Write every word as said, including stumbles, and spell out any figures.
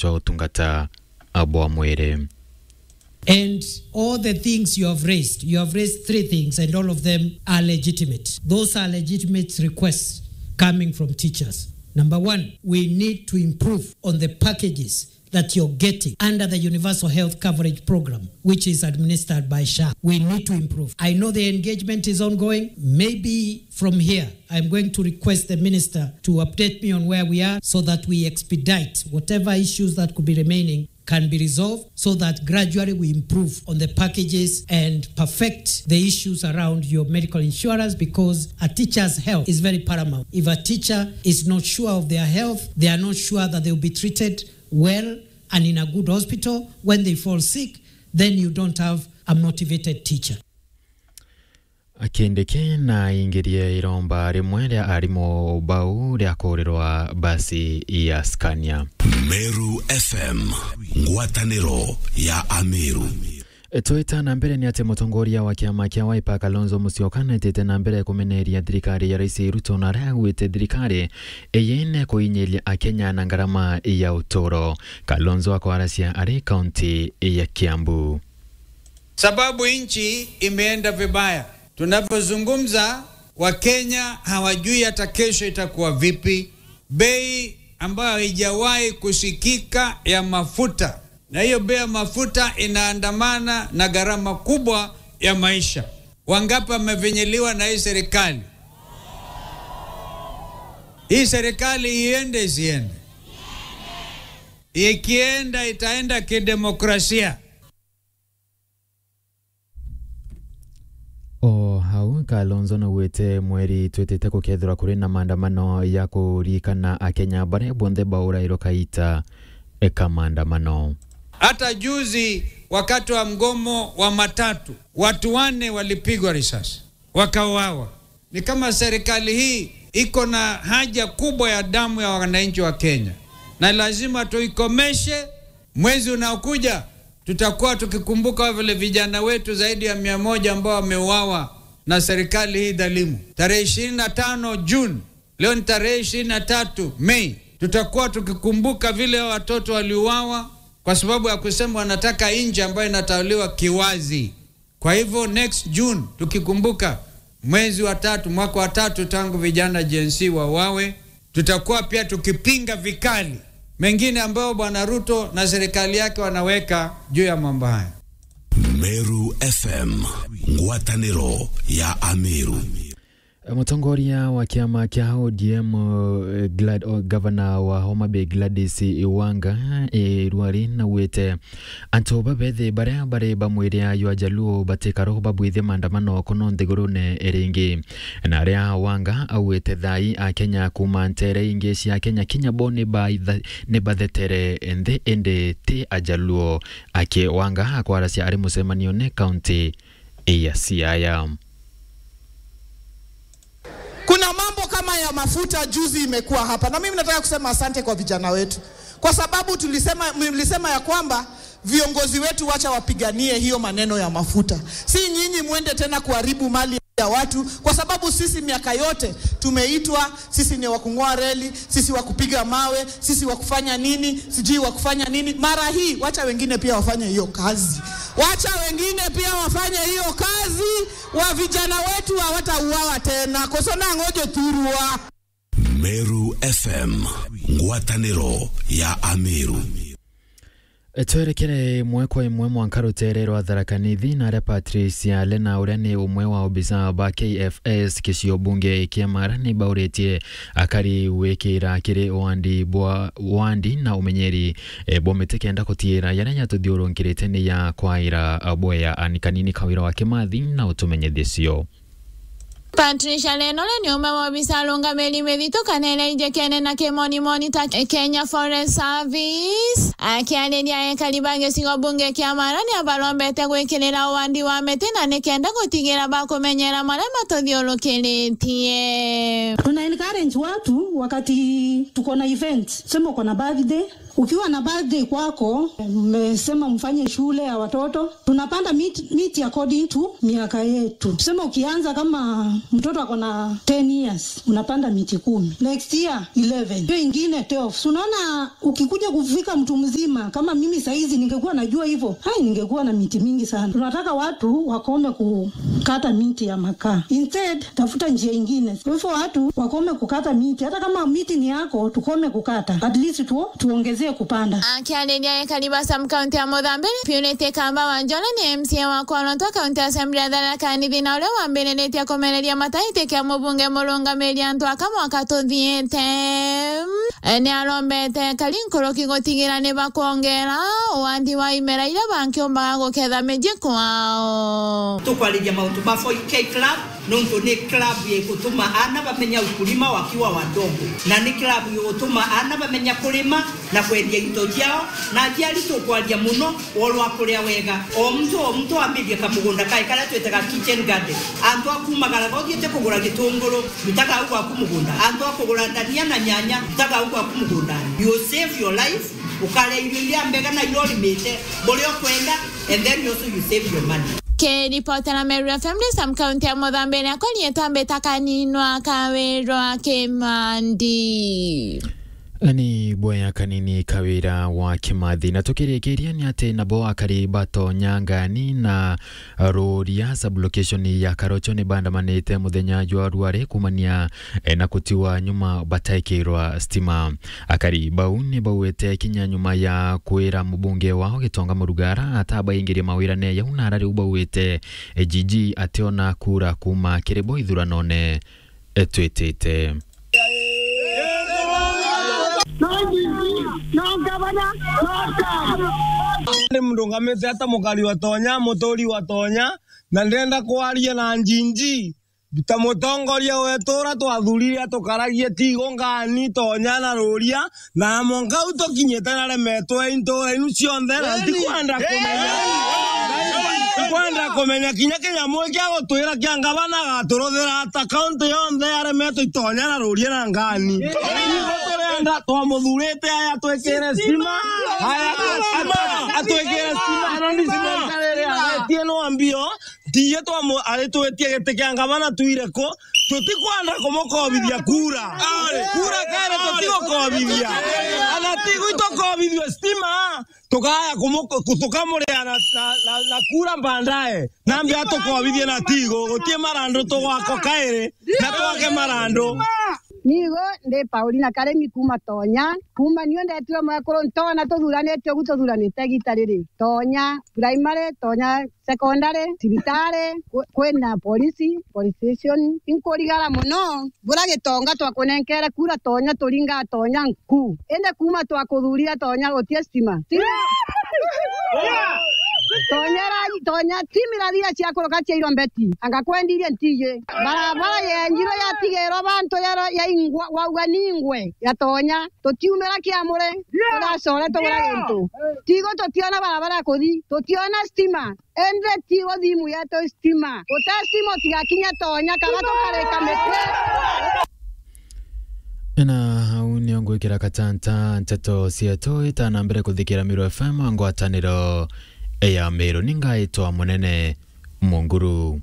jwa utungata bwa mwiri. And all the things you have raised, you have raised three things, and all of them are legitimate. Those are legitimate requests coming from teachers. Number one, we need to improve on the packages that you're getting under the Universal Health Coverage Program, which is administered by SHA. We need to improve. I know the engagement is ongoing. Maybe from here, I'm going to request the minister to update me on where we are so that we expedite whatever issues that could be remaining can be resolved so that gradually we improve on the packages and perfect the issues around your medical insurance, because a teacher's health is very paramount. If a teacher is not sure of their health, they are not sure that they will be treated well and in a good hospital, when they fall sick, then you don't have a motivated teacher. Kindiki na aingirie iromba rimwe ria arimu bau ria kurirwa basi ya Scania. Meru F M, ngwataniro ya Ameru. Twita na mbere ni ati mutongoria wa kiama kia Wiper Kalonzo Musyoka naitite na mbere kumeneria thirikari ya Rais Ruto na aria augite thirikari iyi ni kuinyiria Akenya na ngarama ya uturo. Kalonzo akwaracia ari kaunti ya Kiambu. Sababu nchi imeenda vibaya. Tunavyozungumza, Wakenya hawajui hata kesho itakuwa vipi. Bei ambayo haijawahi kusikika ya mafuta, na hiyo bei ya mafuta inaandamana na gharama kubwa ya maisha. Wangapi wamefinyiliwa na hii serikali? Hii serikali iende isiende? Ikienda, itaenda kidemokrasia. O hau, Kalonzo naugite mweri twitite gukethirwa kuri na maandamano ya kuririkana Akenya baria bonthe baurairwe kaita ka maandamano. Hata juzi wakati wa mgomo wa matatu, watu wanne walipigwa risasi, wakauawa. Ni kama serikali hii iko na haja kubwa ya damu ya wananchi wa Kenya, na lazima tuikomeshe. Mwezi unaokuja tutakuwa tukikumbuka vile vijana wetu zaidi ya mia moja ambao wameuawa na serikali hii dhalimu. Tarehe ishirini na tano June, leo ni tarehe ishirini na tatu Mei, tutakuwa tukikumbuka vile watoto waliuawa kwa sababu ya kusema wanataka nchi ambayo inatawaliwa kiwazi. Kwa hivyo, next June, tukikumbuka mwezi wa tatu, mwaka wa tatu tangu vijana Gen Z wauawe, tutakuwa pia tukipinga vikali mengine ambayo Bwana Ruto na serikali yake wanaweka juu ya mambo haya. Meru F M, ngwataniro ya Ameru. Mutongoria wa kiama kia O D M, eh, Glad-, o, gavana wa Homa Bay Gladys Wanga, eh, Ruari naugite antu babethi baria bari ba mwiri ya Ajaluo batikaro babwithie maandamano kuno nthigurune ringi. Na aria Wanga augite thai Akenya kuma ntere ingi cia Kenya kinya bo ni baitha-, ni bathetere nthi indi ti Ajaluo. Aki Wanga akwaracia ari mucemanione kaunti ya Siaya. Kuna mambo kama ya mafuta juzi imekuwa hapa, na mimi nataka kusema asante kwa vijana wetu, kwa sababu tulisema, mlisema ya kwamba viongozi wetu wacha wapiganie hiyo maneno ya mafuta, si nyinyi mwende tena kuharibu mali ya watu, kwa sababu sisi miaka yote tumeitwa, sisi ni wa kung'oa reli, sisi wa kupiga mawe, sisi wa kufanya nini, sijui wa kufanya nini. Mara hii, wacha wengine pia wafanye hiyo kazi. Wacha wengine pia wafanye hiyo kazi, wa vijana wetu hawatauawa tena. Koso na ngojo turua. Meru F M, ngwataniro ya Ameru. Twerekere imwe kwa imwe mwanka rutere rwa Tharaka Nithi, na aria Patricia Lena, uria ni umwe wa obisa ba K F S kicio bunge kia Mara, ni bauritie akari wikira kiri wandi bwa, wandi na umenyeri, e, bwa miti kenda kutiira yaria yatuthiurunkirite ni ya kwaira bwea. Ani kanini Kawira wa Kimathi na utumenyithie cio. Patricia Lena ni umwe wa obisa arungamiri mithithu kana iria ijikene na kimonimoni ta Kenya Forest Service. Akiariria ekari ba gicigo bunge kia Mara, ni abarombete gwikirira uwandi wa miti na ni kenda gutigira bakumenyera maria matuthiurukiritie. Tuna encourage watu wakati tuko na event, sema uko na birthday, Ukiwa na birthday kwako, mmesema mfanye shule ya watoto, tunapanda miti, miti according to miaka yetu. Tuseme ukianza kama mtoto ako na ten years, unapanda miti kumi. Next year, eleven. Hiyo ingine, twelve. So unaona, ukikuja kufika mtu mzima, kama mimi saizi ningekuwa najua hivyo, hai, ningekuwa na miti mingi sana. Tunataka watu wakome kukata miti ya makaa. Instead, tafuta njia ingine. Kwa hivyo watu wakome kukata miti. Hata kama miti ni yako, tukome kukata. At least tu, tuongezee kupanda. Akiariria ekari ba sub county ya Muthambi, Purity Kamba Wanjore ni M C A wa Kwonontwa County Assembly ya Tharaka Nithi, na uria wambiritie kumereria mataiti kia mubunge murungamiri antu aka mwaka tuthiite. E, ni arombete ekari nkuruki gutigira ni bakwongera uwandi wa imera iria bankiumbaga guketha miji kwao. Tukwariria mauntu ma four K Club, nontu ni club igutuma ana bamenya ukulima wakiwa wadogo, na ni club igutuma ana bamenya kurima na kwendia into ciao, na aciari tukwaria muno, worwa kuria wega. O muntu, o muntu ambirie kamugunda kae karia twitaga kitchen garden. Antu a kumagara, uthiite kugura gitunguru, rutaga au gwaku mugunda. Antu a kugura ndania na nyanya, rutaga au gwaku mugundani. You save your life, ukaria irio iria mbega na iria urimite, buria ukwenda, and then also you save your money. Kiripotera Meru F M, ndi sub county ya Muthambi, na korietwa mbita Kaninwa Kawirwa Kimandi. Ni bwea kanini Kawira wa Kimathi. Na tukirikiria ni ati nabo akari ba Tonya, Ngani na Ruria sub-location ya Karocho ni bandamanite muthenya jwa rware kumania, eh, na kutiwa nyuma bataikirwa stima. Akari bau ni bauite kinya nyuma ya kwira mubunge wao Gitonga Murugara atabaingirie mawirane jau, na ara riu bauite, eh, Gigi ationa kura kuma kiri bo ithuranone, eh, twitite. No Gigi, no ngavana, no Sam. Ndi mrungamite ata mukari wa Tonya, muturi wa Tonya, na ndenda kwaria na Gigi ta mutongoria wetu uria twathurire atukaragie Tigo, Ngani, Tonya na Ruria, na mwanka u tukinyite na remetwe intura inu cionthe, na ntikwenda kumenya, ntikwenda kumenya kinya kinyamu kia gutwira kia ngavana agaturuthira ata, kaunti yonthe yaremetwe i Tonya na Ruria na Ngani. Ithu turenda, twamuthurite aya atwikire stima, aya atwikire stima, na ni stima iria aretie no ambio, Tiye twamu-, aritwitie giti kia ngavana twire ku, tutikwenda kumukobithia kura. Kura kere tutigukobithia. Ana ti gwitukobithua stima, tukaya kumu-, ku-, tukamuria na, na, na, na kura mbandae. Nambi atukobithie na Tigo, gutie marandu tugwako kairi, na twake marandu. Nigo ndi Paulina Karemi kuma Tonya, kuma niu ndetirwe mwekuru ntona tuthuranite ugu tuthuranite igita riri. Tonya primary, Tonya secondary, cibitari, kwi-, kwina polisi, police station. Inkurigara mono, bura Gitonga twakunenkere kura Tonya, turinga Tonya nku. Indi kuma twakuthurira Tonya gutie stima. Stima! Tonya ra-, Tonya, stima irathira cia kuruka cia irombeti. Anga kwendirie ntiji. Barabara yenjirwe yatigerwa bantu ya, ya ingwa, wauga ni ingwe ya Tonya. Tutiumira kiamure, turacora tugura gintu. Tigo tutiona barabara ya kuthi, tutiona stima. Ende Tigo thimu yetu stima. Gute stima utigakinya Tonya, kana tukareka miti. Na au nio ngwikira katanta nteto cietu itana mbere kuthikira Meru F M ngwataniro ya Meru. Ni ngaitwa Munene Munguru.